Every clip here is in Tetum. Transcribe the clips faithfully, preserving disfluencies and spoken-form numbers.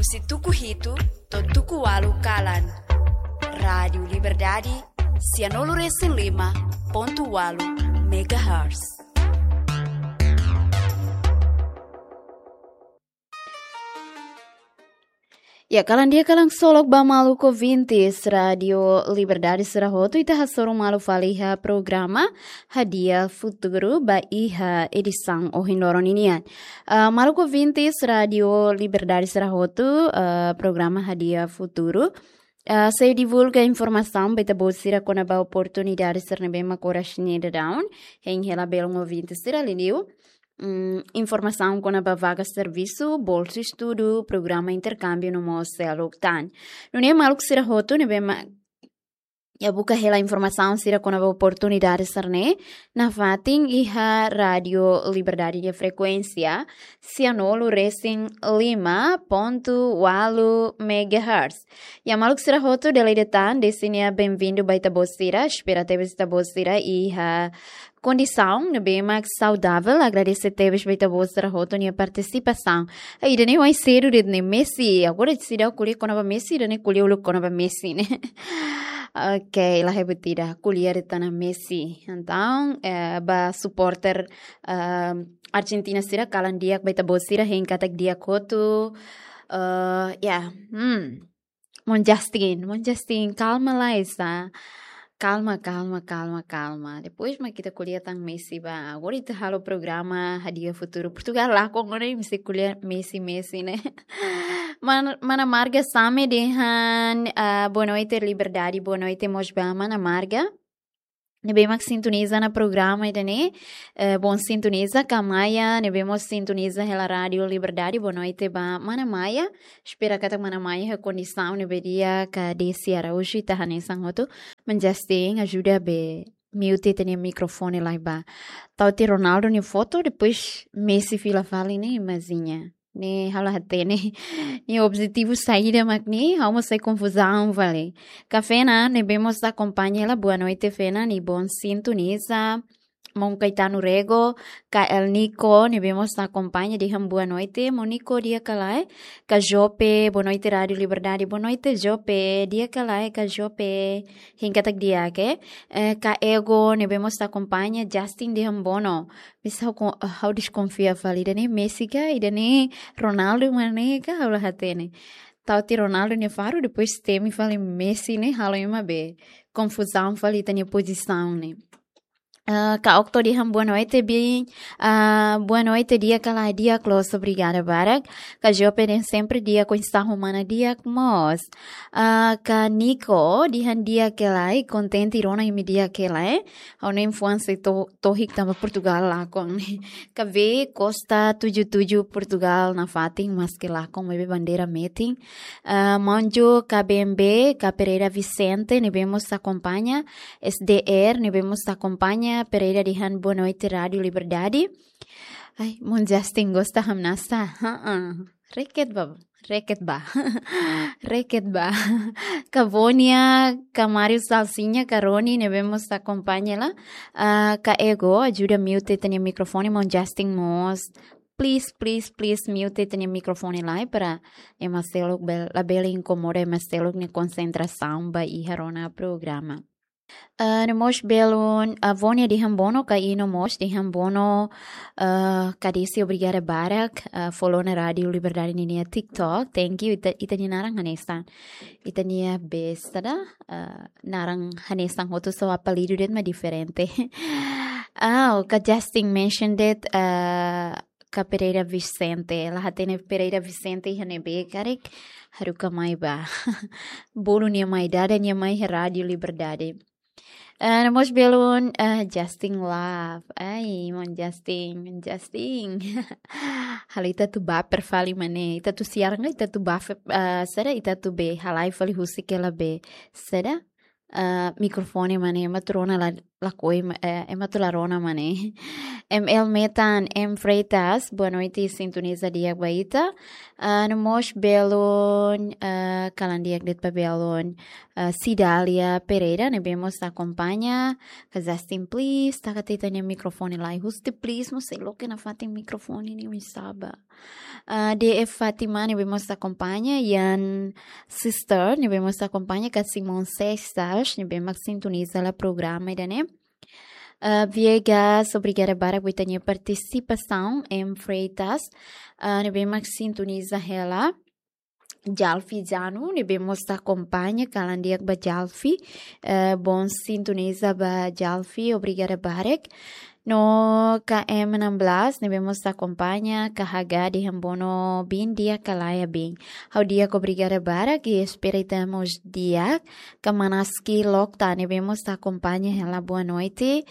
Husi tuku hitu to'o tuku ualu kalan. Rádiu Liberdade, sianulu resin lima pontu ualu megahertz. Ya, kalan di'ak, kalan solok ba maluk ouvintes Rádiu Liberdade sira hotu, ita hasoru malu fali iha programa Hadi'a Futuru ba iha edisaun ohin loron ninian. Ah, maluk ouvintes Rádiu Liberdade sira hotu, ah, programa Hadi'a Futuru, ah, sei divulga informasaun ba ita-boot sira kona-ba oportunidade sira ne'ebé mak oras ne'e daudaun hein hela belun ouvinte sira, liuliu, mm, informasaun kona-ba vaga servisu, bolsa estudu, programa interkámbiu no mós seluk tan. Nune'e maluk sira hotu ne'ebé mak, ya, buka hela informasaun sira kona-ba oportunidade sira-ne'e nafatin iha Rádiu Liberdade nia frekuénsia sianulu resin lima pontu ualu megahertz. Ya, maluk sira hotu, dala ida tan, desi nia benvindu ba ita-boot sira, espera tebes ita-boot sira iha kondisaun ne'ebé mak saudavel, agradese tebes ba ita-boot sira hotu nia partisipasaun. Ah, ida-ne'e ohin sedu de'it ne'e Messi, agora seidauk ko'alia kona-ba Messi, ida-ne'e ko'alia uluk kona-ba Messi ne'e. Oke, la hebat ida, ko'alia de'it ona Messi. Entaun, eh, ba suporter, eh, Argentina sira, kalan di'ak ba ita-boot sira, hein katak di'ak hotu. Eh, ya, hmm. Mon Justin, Mon Justin, kalma lai sa. Kalma, kalma, kalma, kalma. Depois mak ita ko'alia tan Messi ba. Agora ita halo programa Hadi'a Futuru. Portugál lakon, agora mesti ko'alia Messi, Messi ne'e. Man-, mana Marga Same dehan, ah, boa noite, Liberdade. Boa noite mós ba mana Marga ne'ebé mak sintoniza ona programa ida-ne'e. Eh, bom sintoniza, ka Maia ne'ebé mós sintoniza hela Rádiu Liberdade. Boa noite ba mana Maia. Espera katak mana Maia iha kondisaun ne'ebé di'ak, ka Desi Araújo, ita hanesan hotu. Mon Justin, ajuda be mute ita-nia mikrofone lai ba. Tau tiha Ronaldo nia foto, depois Messi fila fali ne'e, imajina. Ne'e ha'u la hatene nia objetivu saida mak ne'e, ha'u mós sai konfuzaun fali. Ka Fena ne'ebé mós akompaña hela, boa noite Fena, nia bom sintoniza. Mon Caetano Rego, ka El Nico ne'ebé mós akompaña, dehan boa noite. Mon Nico, di'ak ka lae? Ka Jope, boa noite Rádiu Liberdade. Boa noite Jope, di'ak ka lae ka Jope? Hein katak di'ak, eh? Eh, ka Ego ne'ebé mós akompaña, Justin dehan bono. Misa ha'u kon-, ha'u deskonfia fali, ida-ne'e Messi ka, ida-ne'e Ronaldo mak ne'e ka, ha'u la hatene. Tau tiha Ronaldo nia faru, depois temi fali Messi ne'e, halo ema be konfuzaun fali ita-nia pozisaun ne'e. Ah, ka Okto dehan boa noite, bi, ah, boa noite, di'ak ka lae? Di'ak loos, obrigada barak. Ka Jope dehan sempre di'ak, oinsá ho mana, di'ak mós. Ah, ka Nico dehan di'ak ka lae, kontente rona imi di'ak ka lae? Ha'u-nia fuan sei to-, tohik tanba Portugál lakon. Ka V Costa tujuh tujuh, Portugál nafatin, maske lakon maibé bandeira metin. Ah, Monjo, ka B M B, ka Pereira Vicente ne'ebé mós akompaña, S D R ne'ebé mós akompaña, Pereira dehan boa noite Rádiu Liberdade. Ai, Mon Justin gosta hamnasa. Heeh. Reket ba, reket ba. Reket ba. Ka Vonia, ka Mário Salsinha, ka Roni ne'ebé mós akompaña hela. Ah, ka Ego, ajuda mute ita-nia mikrofone, Mon Justin mós. Please, please, please, mute ita-nia mikrofone lai para ema seluk bel-, labele inkomoda ema seluk nia konsentrasaun ba iha rona programa. Ah, no mós belun, ah, Vonia dehan bono, ka Ino mós dehan bono, ah, ka Desi, obrigada barak, ah, follow ona Rádiu Liberdade ninia TikTok. Thank you, ita, ita-nia naran hanesan. Ita-nia be saida, ah, naran hanesan hotu, só apelidu de'it mak diferente. Ah, ka Justin mention de'it, ah, ka Pereira Vicente. La hatene Pereira Vicente iha ne'ebé karik, haruka mai ba. Bolu nia mai, dada nia mai iha Rádiu Liberdade. Ah, no mós belun, ah, Justin Love. Ai, Mon Justin, Justin. Halo ita atu baper fali mak ne'e. Ita atu siaran ka ita atu baper, ah, saida, ita atu be halai fali husik hela be saida, ah, mikrofone mak ne'e, ema atu rona la, lakohi, eh, ema atu la rona mak ne'e. M L Metan, M Freitas, boa noite, sintoniza di'ak ba ita. Ah, no mós belun, ah, kalan di'ak de'it ba belun, ah, Cidália Pereira, ne'ebé mós akompaña, ka Justin, please, taka tiha ita-nia mikrofone lai. Husi tiha, please, mós sei loke nafatin mikrofone ne'e, oinsá ba. Ah, D F Fátima, ne'ebé mós akompaña, Ian Sister, ne'ebé mós akompaña, ka Simon Sextas, ne'ebé mak sintoniza hela programa ida-ne'e. Ah, Viegas, obrigada barak ba ita-nia partisipasaun, M Freitas, ah, ne'ebé mak sintoniza hela. Jalfi Janu, ne'ebé mós akompaña, kalan di'ak ba Jalfi. Eh, bom sintoniza ba Jalfi, obrigada barak. No K M enam belas, ne'ebé mós akompaña, ka Haga dehan bono bin di'ak ka lae bin. Ha'u di'ak, obrigada barak, i espera ita mós di'ak. Ka Manaski Lokta, ne'ebé mós akompaña hela, boa noite.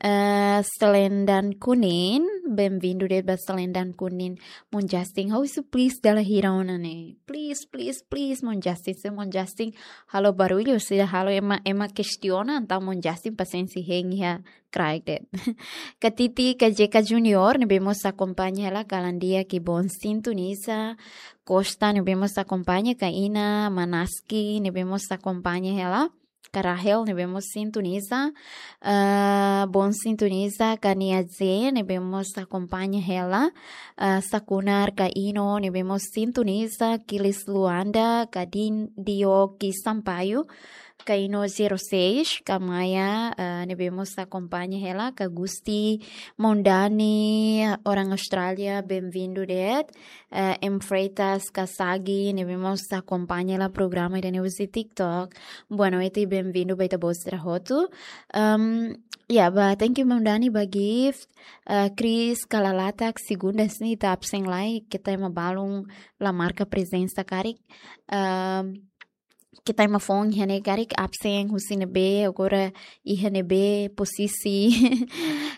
Eh, Selendan Kunin, bem-vindo de'it ba Selendan Kunin. Maun Justin, ha'u husu please dala hira ona ne'e. Please, please, please, Maun Justin, se Maun Justin halo barullu, se halo ema, ema kestiona, entaun Maun Justin pasiénsia hein iha kraik de'it. Ka Titi, ka J K Junior, ne'ebé mós akompaña hela, kalan di'ak i bom sintoniza. Costa, ne'ebé mós akompaña, ka Ina, Manaski, ne'ebé mós akompaña hela. Ka Rahel, ne'ebé mós sintoniza. Ah, bom sintoniza, ka Nia Ze, ne'ebé mós akompaña hela. Ah, Sakunar, ka Ino, ne'ebé mós sintoniza. Kilis Luanda, ka Din Dioki Sampaio, ka Ino zero seis, ka Maya, ah, ne'ebé mós akompaña hela, ka Gusti, Maun Dani, orang Austrália, bem-vindo de'it. Eh, M Freitas, ka Sagi, ne'ebé mós akompaña hela programa ida-ne'e husi TikTok. Boa noite, bem-vindo ba ita-boot sira hotu. Ehm, ya, ba, thank you, Maun Dani, ba gift. Eh, Chris, ka Lalatak, segundas ne'e ita absen lai, keta ema balun la marka prezensa karik. Ehm, keta ema foun iha ne'e karik absen husi ne'ebé, agora iha ne'ebé pozisi.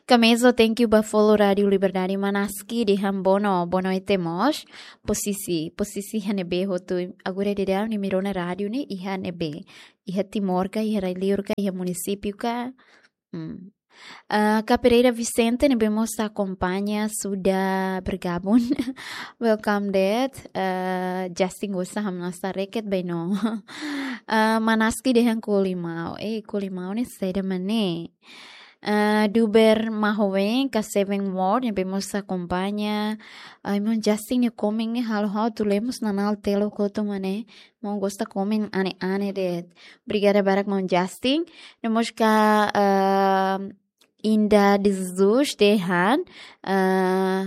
Ka Mezo, thank you ba follow Rádio Liberdade. Manaski dehan bono, boa noite mós. Pozisi, pozisi iha ne'ebé hotu. Agora daudaun ne'e imi rona rádiu ne'e iha ne'ebé. Iha Timor ka, iha rai-liur ka, iha munisípiu ka. Hmm. Ah, ka Pereira Vicente, ne'ebé mós akompaña, sudah bergabung. Welcome de'it. Ah, Justin gosta hamnasa reket baino. Ah, Manaski dehan ko'alia maun. Eh, ko'alia maun ne'e saida mak ne'e. Ah, Duber Mahowen, ka Seven World, ne'ebé mós akompaña. Ai, maun Justin nia komen ne'e halo ha'u atu lee mós nanál teluk hotu mak ne'e. Maun gosta komen ane-ane de'it. Obrigada barak, maun Justin. No mós ka, ah, Inda de Jesus dehan, ah,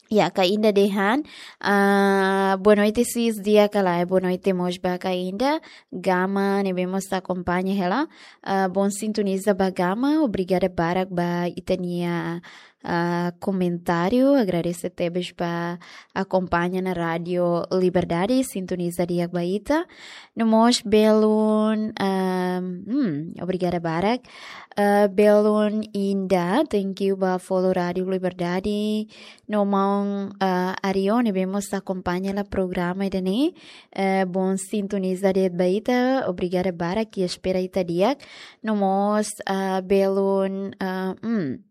ya, ka Inda dehan, ah, boa noite, sis, di'ak ka lae, boa noite mós ba ka Inda. Gama, ne'ebé mós akompaña hela. Ah, bom sintoniza ba Gama, obrigada barak ba ita-nia, ah, komentáriu, agradese tebes ba akompaña ona Rádio Liberdade, sintoniza di'ak ba ita. No mós belun, ah, hmm, obrigada barak. Ah, belun Inda, thank you ba follow Rádio Liberdade. No maun, ah, Ario, ne'ebé mós akompaña hela programa ida-ne'e. Eh, bom sintoniza de'it ba ita, obrigada barak, i espera ita di'ak. No mós, ah, belun, ah, hmm.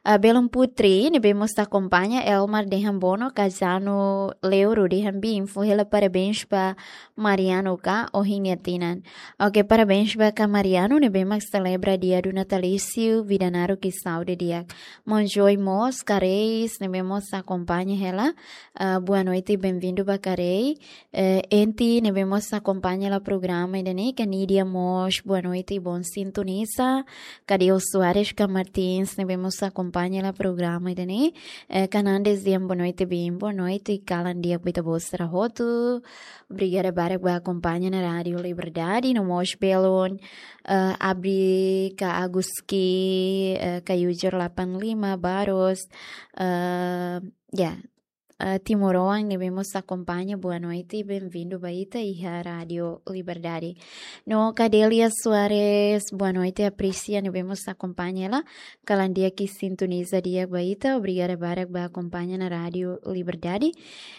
Ah, belun Putri, ne'ebé mós akompaña, Elmar dehan bono, ka Janu Leuro dehan bin, fó hela parabéns ba Mariano ka, ohin nia tinan. Ok, parabéns ba ka Mariano, ne'ebé mak selebra dia do natalício, vida naruk i saúde di'ak. Maun Joy mós, ka Reis, ne'ebé mós akompaña hela. Ah, boa noite, bem-vindo ba ka Rei. Eh, Enti, ne'ebé mós akompaña hela programa ida-ne'e, ka Nidia mós, boa noite, bom sintoniza. Ka Deo Soares, ka Martins, ne'ebé mós akompaña hela programa ida-ne'e. Eh, ka Nandes dehan boa noite, bin, boa noite, kalan di'ak ba ita-boot sira hotu. Obrigada barak ba akompaña ona Rádio Liberdade, no mós belun, eh, Abri, ka Aguski, eh, ka Yujur delapan lima, Barros, eh, ya, eh, timoroan ne'ebé mós akompaña, boa noite, bem-vindo ba ita iha Rádio Liberdade. No ka Delia Soares, boa noite, apresia, ne'ebé mós akompaña hela, kalan di'ak i sintoniza di'ak ba ita, obrigada barak ba akompaña ona Rádio Liberdade.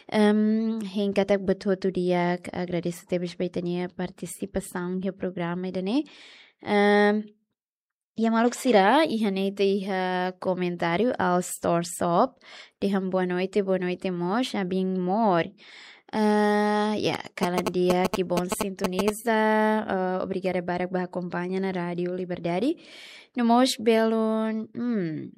Em, hein katak buat hotu di'ak, agradese tebes ba ita-nia partisipasaun iha programa ida-ne'e. Em, Iha maluk sira, iha ne'e ita iha komentáriu All Store Shop, dehan boa noite, boa noite mós, abin mor. Ah, ya, kalan di'ak, que bom sintoniza. Ah, obrigada barak ba akompaña ona Rádio Liberdade. No mós belun, hmm,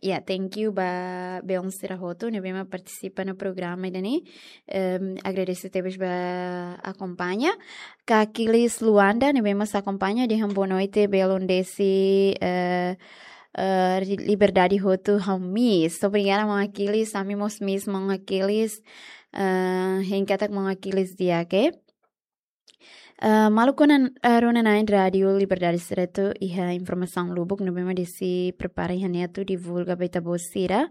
ya, thank you ba belun sira hotu ne'ebé mak partisipa iha programa ida-ne'e. Em, agradese tebes ba akompaña. Kak Kilis Luanda, ne'ebé mak akompaña, dehan boa noite, belun Desi, eh, eh, Liberdade hotu ha'u miss. Obrigada, maun Aquiles, ami mós miss, maun Aquiles. Eh, hein katak maun Aquiles di'ak, eh. Eh, maluk rona-na'in Rádio Liberdade sira hotu, iha informasaun lubuk ne'ebé mak Desi prepara iha ne'e atu divulga ba ita-boot sira.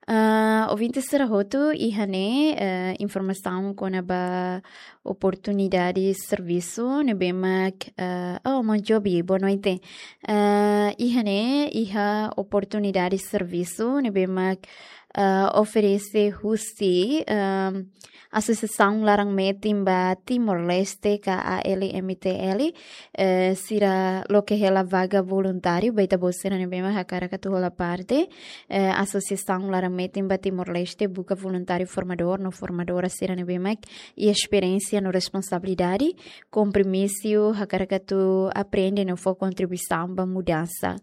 Ah, ouvinte sira hotu, iha ne'e, eh, informasaun kona-ba oportunidade servisu ne'ebé mak, eh, oh, maun Jobi, boa noite. Eh, iha ne'e, iha oportunidade servisu ne'ebé mak, eh, oferese husi, ehm, Asosiasaun Laran Metin ba Timor-Leste, ka A L M T L, eh, sira loke hela vaga voluntáriu ba ita-boot sira ne'ebé mak hakarak atu hola parte, eh, Asosiasaun Laran Metin ba Timor-Leste buka voluntáriu formadór no formadora sira ne'ebé mak iha esperiénsia no responsabilidade, kompromisu, hakarak atu aprende no fó kontribuisaun ba mudansa.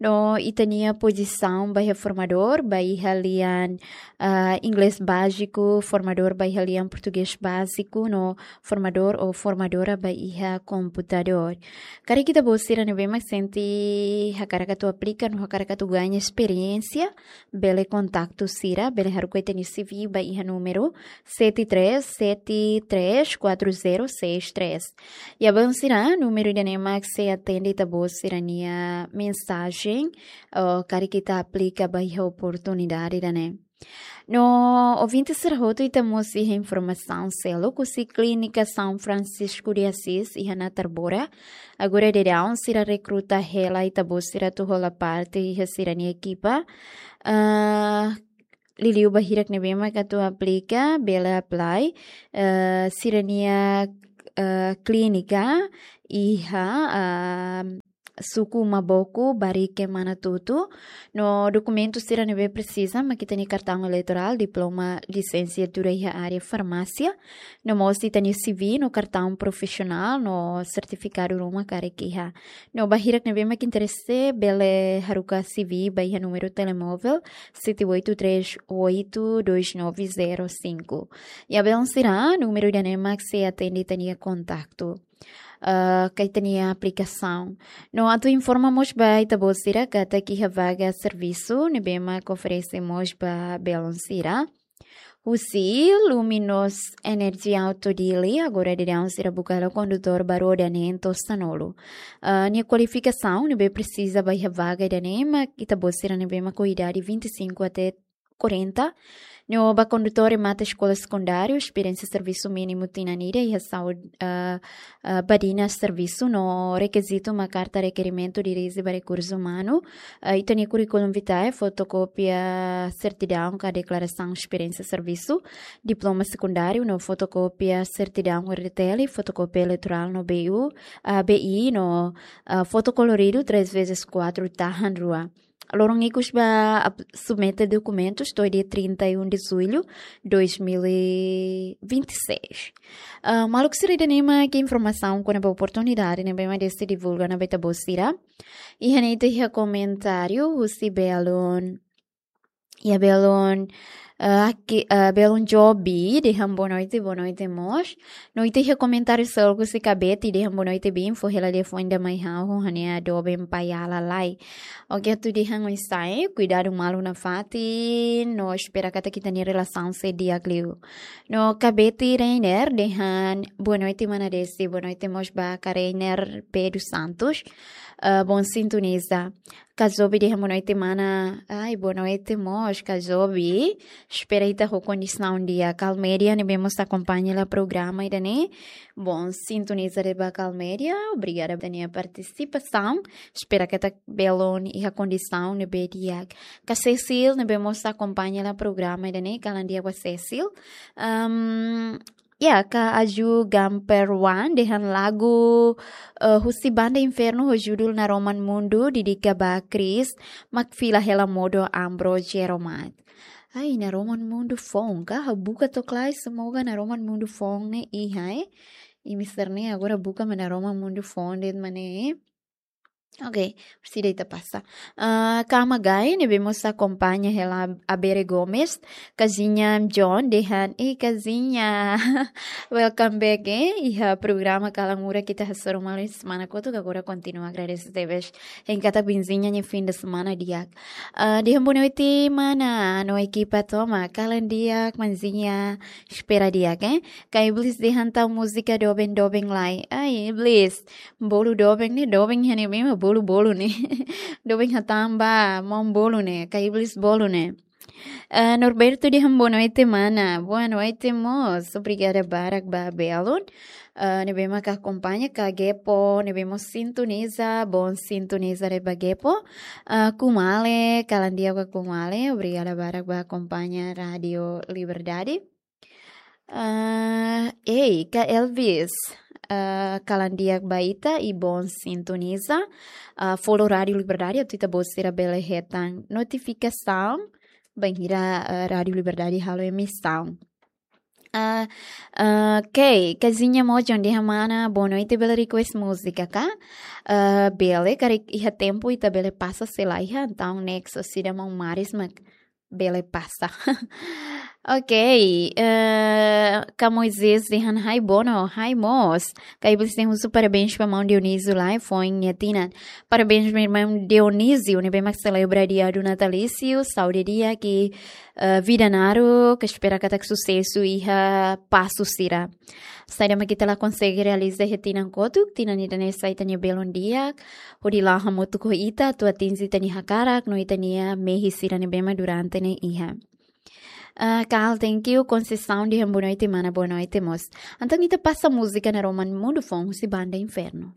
No ita-nia pozisaun ba iha formadór, ba iha lian, ah, inglés báziku, formadór ba iha lian portugés báziku, no formadór ou formadora ba iha komputadór. Karik ita-boot sira ne'ebé mak sente hakarak atu aplika no hakarak atu gaña esperiénsia, bele kontaktu sira, bele haruka ita-nia C V ba iha númeru sete três sete três quatro zero seis três. Ya belun sira, númeru ida-ne'e mak sei atende ita-boot sira-nia mensajen, oh, karik ita aplika ba iha oportunidade ida-ne'e. No ouvinte sira hotu, ita mós iha informasaun seluk husi Klínika São Francisco de Assis iha Natarbora. Agora daudaun sira rekruta hela ita-boot sira atu hola parte iha sira-nia ekipa. Ah, liuliu ba hirak ne'ebé mak atu aplika, bele apply. Eh, sira-nia, eh, klínika iha, ah, suku Maboku, Barike, Manatuto. No dokumentu sira ne'ebé presiza mak ita-nia kartaun eleitorál, diploma lisensiatura iha área farmásia, no mós ita-nia C V no kartaun profisionál no sertifikadu ruma karik iha. No ba hirak ne'ebé mak interese, bele haruka C V ba iha númeru telemóvel sete oito três oito dois nove zero cinco. Ya belun sira, númeru ida-ne'e mak sei atende ita-nia kontaktu, eh, ka ita-nia aplikasaun. No atu informa mós ba ita-boot sira katak iha vaga servisu ne'ebé mak oferese mós ba belun sira husi Luminos Energy Auto Dili, agora daudaun sira buka hela kondutór ba roda neen to'o sanulu. Ah, nia kualifikasaun ne'ebé presiza ba iha vaga ida-ne'e mak ita-boot sira ne'ebé mak ho idade vinte e cinco até quarenta. No ba kondutór remata eskola sekundáriu, esperiénsia servisu mínimu tinan ida iha saúde, ah, ah, ba dinas servisu, no rekizitu mak karta rekerimentu dirije ba rekursu umanu, ah, ita-nia curriculum vitae, fotokópia sertidaun ka deklarasaun esperiénsia servisu, diploma sekundáriu no fotokópia sertidaun R T L, fotokópia eleitorál no B U, ah, B I no, ah, foto koloridu três vezes quatro tahan rua. Loron ikus ba ap-, submete dokumentus to'o dia trinta e um de julho dois mil e vinte e seis. Ah, maluk sira, ida-ne'e mak informasaun kona-ba oportunidade ne'ebé mak Desi divulga ona ba ita-boot sira. Iha ne'e ita iha komentáriu husi belun, ya belun, eh, aki-, eh, belun Jobi, dehan boa noite, boa noite mós. No ita iha komentáriu seluk husi Kabeti, dehan boa noite, bin, fó hela liafuan ida mai ha'u, ha'u-nia doben pai-ala lai. Oke, atu dehan oinsá, kuidadu malu nafatin, no espera katak ita-nia relasaun sei di'ak liu. No Kabeti Reiner, dehan boa noite mana Desi, boa noite mós ba Ka Reiner P dos Santos. Ah, bom sintoniza. Kazobi dehan boa noite mana. Ai, boa noite mós, Kazobi. Espera ita ho kondisaun di'ak. Kalmédia ne'ebé mós akompaña hela programa ida-ne'e. Bom sintoniza de'it ba Kalmédia. Obrigada ba ita-nia partisipasaun. Espera katak belun iha kondisaun ne'ebé di'ak. Ka Cecil ne'ebé mós akompaña hela programa ida-ne'e. Kalan di'ak ba Cecil. Ahm, Ya, Ka Aju Gamper Wan dehan lagu, eh, husi Banda Inferno ho judul Naroman Mundu, dedika ba Chris, mak fila hela modo Ambro Jeromat. Ai, Naroman Mundu foun ka? Ha'u buka to'ok lai, semoga Naroman Mundu foun ne'e iha, eh. Imi sira-ne'e agora buka mak Naroman Mundu foun de'it mak ne'e. Ok, presiza ita pasa. Ah, Kama Gai, ne'ebé mós akompaña hela Abere Gomes, Kazinha John, dehan, eh, Kazinha, welcome back, eh, iha programa Kalan Murak ita hasoru malu semana kotuk, agora kontinua agradese tebes. Hein katak Benzinha nia fim de semana di'ak. Ah, dehan boa noite, mana, no ekipa tomak, kalan di'ak, manzinha, espera di'ak, eh. Ka Iblis dehan tau múzika doben-doben lai. Ai, Iblis, bolu doben ne'e, doben iha ne'ebé mak bolu-bolu ne'e. Doben hatán ba, maun bolu ne'e, Ka Iblis bolu ne'e. Eh, Norberto dehan boa noite, mana. Boa noite mós. Obrigada barak ba belun. Eh, ne'ebé mak akompaña, Ka Gepo, ne'ebé mós sintoniza, bom sintoniza de'it ba Gepo. Eh, Kumale, kalan di'ak ba Kumale, obrigada barak ba akompaña Rádio Liberdade. Ah, ei, Ka Elvis, ah, kalan di'ak ba ita i bom sintoniza. Ah, follow Rádio Liberdade, atu ita-boot sira bele hetan notifikasaun bainhira, ah, Rádio Liberdade halo emisaun. Ah, ah, ok, Kazinha Mojon dehan mana, boa noite, bele request múzika ka? Ah, bele, karik iha tempu ita bele pasa, se la iha, entaun next, orsida maun Maris mak bele pasa. Ok, eh, Ka Moisés dehan hai bono, hai mós. Ka Iblis dehan husu parabéns ba maun Dionísio lai, foin nia tinan. Parabéns ba maun Dionísio, ne'ebé mak selebra dia do natalício, saúde di'ak, eh, vida naruk, ka espera katak susesu iha pasu sira. Saida mak ita la konsege realiza iha tinan kotuk, tinan ida-ne'e sai ita-nia belun di'ak, hodi la'o hamutuk ho ita, atu atinje ita-nia hakarak, no ita-nia mehi sira ne'ebé mak durante ne'e iha. Ah, Carl, thank you. Conceição dehan boa noite, mana, boa noite mós. Entaun ita pasa múzika Naroman Mundu foun husi Banda Inferno.